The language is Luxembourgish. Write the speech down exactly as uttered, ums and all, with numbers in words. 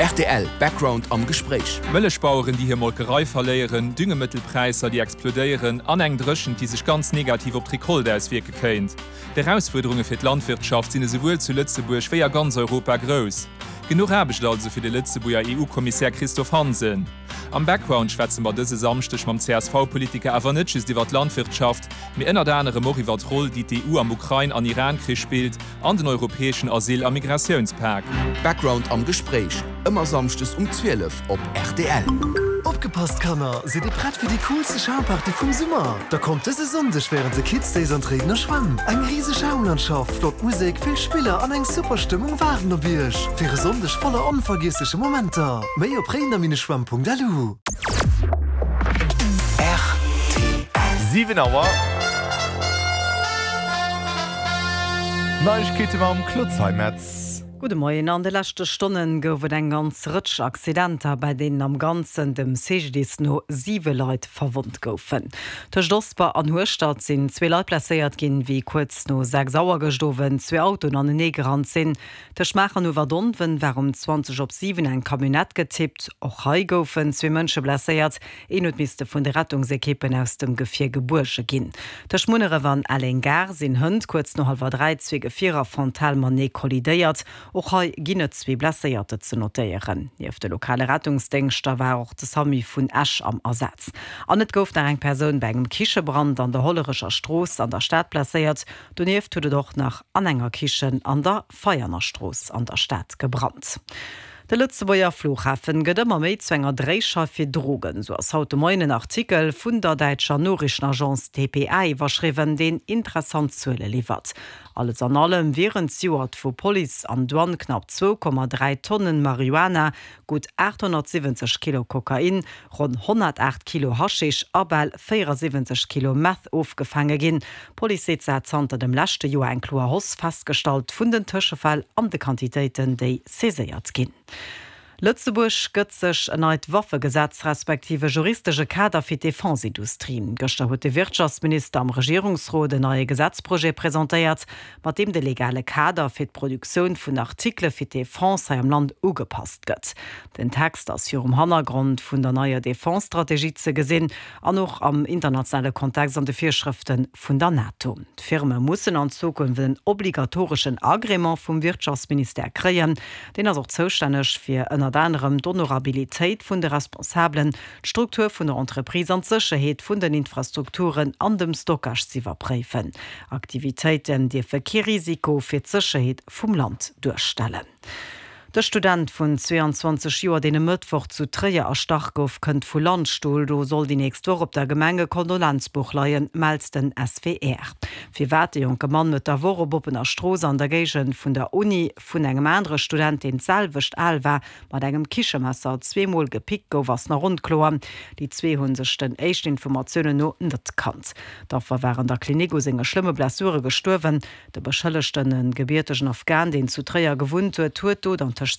Rtl Background am Gespréich. Mëllechbaueren, déi hir Molkerei verléieren, Düngemëttelpräisser, déi explodéieren, an eng Dréchent, déi sech ganz negativ op d'Recolte auswierke kéint. D'Erausfuerderunge fir d'Landwirtschaft sinn esouwuel zu Lëtzebuerg wéi a ganz Europa grouss. Genuch Aarbecht also fir de Lëtzebuerger EU-Kommissär Christophe Hansen. Am Background schwätze mer dëse Samschdeg mam C S V-Politiker awer net just iwwer d'Landwirtschaft, mee ënnert anerem och iwwer d'Roll, déi d'E U am Ukrain an Iran-Krich spillt, an den europäeschen Asyl a Migratiounspak. Background am Gespréich, ëmmer samschdes um zwielef op R T L. Opgepasst Kanner, sidd dir prett fir déi coolste Schaumparty vum Summer? Da kommt dëse Sonndeg wärend de Kids Days an d'Réidener Schwämm. Eng riseg Schaumlandschaft, flott Musek, vill Spiller an eng super Stëmmung waarden op iech. Fir e Sonndeg voller onvergiessleche Momenter. Méi op réidener Bindestrich schwämm Punkt L U. Siwen Auer. Neiegkeete mam Claude Zeimetz. Gudde Moien. An de leschte Stonne gouf et eng ganz Rëtsch Accidenter, bei deenen am Ganzen dem C G D I S no siwe Leit verwonnt goufen. Tëscht Osper an Hueschtert sinn zwee Leit blesséiert ginn, wéi kuerz no sechs Auer gëschter Owend zwee Autoen anenee gerannt sinn. Tëscht Maacher an Uewerdonwen war um zwanzeg op siwen eng Camionnette getippt. Och hei goufen zwee Mënsche blesséiert. Een huet misste vun de Rettungsekippen aus dem Gefier gebuerge ginn. Tëscht Munneref an Elleng-Gare sinn hënt kuerz no hallwer dräi zwee Gefierer frontal matenee kollidéiert. Och hei ginn et zwee Blesséierter ze notéieren. Nieft de lokale Rettungsdéngschter war och de SAMU vun Esch am Asaz. An et gouf nach eng Persoun bei engem Kichebrand an der Hollerecher Strooss an der Stad blesséiert. Donieft huet et och nach an enger Kichen an der Veianer Strooss an der Stad gebrannt. De Lëtzebuerger Flughafen gëtt ëmmer méi zu enger Dréischeif fir Drogen. Sou ass haut de Moien en Artikel vun der däitscher Noriichtenagence D P A iwwerschriwwen, deen interessant Zuele liwwert. Alles an allem wieren zejoert vu Police an Douane knapp zwou Komma dräi Tonnen Marihuana, gutt aathonnertsiwwenzeg Kilo Kokain, ronn honnertaacht Kilo Haschisch a bal véieresiwwenzeg Kilo Meth ofgefaange ginn. D'Police seet, se hätt zanter dem leschte Joer eng kloer Hausse festgestallt vun den Tëschefäll an de Quantitéiten, déi saiséiert ginn. Lëtzebuerg gëtt sech en neit Waffegesetz respektiv e juristesche Kader fir d'Defenseindustrie. Gëschter huet de Wirtschaftsminister am Regierungsrot en neie Gesetzprojet presentéiert, mat deem de legale Kader fir d'Produktioun vun Artikele fir d'Defense hei am Land ugepasst gëtt. Den Text ass virum Hannergrond vun der neier Defense-Strategie ze gesinn an och am internationale Kontext an de Virschrëfte vun der NATO. D'Firme mussen an Zukunft en obligatoreschen Agrément vum Wirtschaftsministère kréien. Deen ass och zoustänneg fir ënnert anerem d'Honorabilitéit vun de Responsabelen, d'Struktur vun der Entreprise an d'Sécherheet vun den Infrastrukturen an dem Stockage ze iwwerpréifen. Aktivitéiten dierfe kee Risiko fir d'Sécherheet vum Land duerstellen. De Student vun zweeanzwanzeg Joer, deen e Mëttwoch zu Tréier erstach gouf, kënnt vu Landstuhl. Do soll déi nächst Woch op der Gemeng e Kondolenzbuch leien, mellt den S W R. Firwat de jonke Mann Mëtt der Woch op oppener Strooss an der Géigend vun der Uni vun engem anere Student, deen d'selwecht al war, mat engem Kichemesser zweemol gepickt gouf, ass nach onkloer. Déi zwee hu sech den éischten Informatiounen no net kannt. D'Affer war an der Klinik u senge schlëmme Blessure gestuerwen. De Beschëllegten, e gebiertegen Afghan, deen zu Tréier gewunnt huet, huet d'Dot an